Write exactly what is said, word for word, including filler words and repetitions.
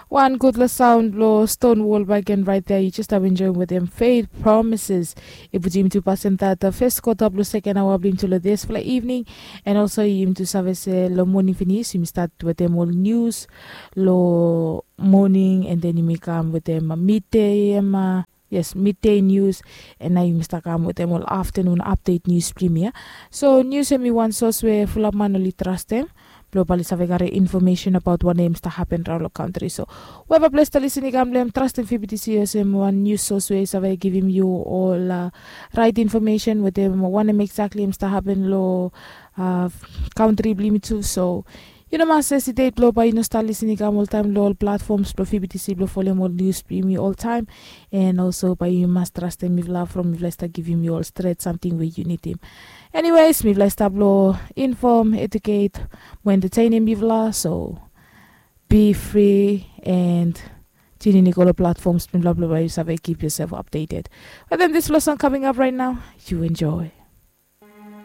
Wan gudfala saon blong Stonewall Wagon right there. You just have enjoying with them Faith Promises. I putim tu pasen that uh, first quarter blong second hour blong tu lo this fala evening. And also you tu save se lo morning finish, you start with them all news lo morning, and then you may come with them uh, midday um, uh, yes, midday news. And now you must come with them all afternoon update news premier. So news em i wan sos we fulap man oli trust them. Blong bali save gare information about wan em sta happen raun lo country. So weba ples ta lisin i kam blem trust em fibitisi olsem wan news source we save givim you all uh, right information with them wan em exactly em sta happen lo uh, country blimi tu. So you no mas hesitate blong bai you no sta lisin i kam oltaim lo all platforms blong fibitisi blong folem all news blimi oltaim. And also bai you mas trust em mifla from mifla sta givim you all straight something we you need him. Anyways, mifla i stap lo inform, educate, mo entertainim mifla. So be free and tune in i go lo platforms mifla blong bai you save keep yourself updated. But then this lo song coming up right now, you enjoy.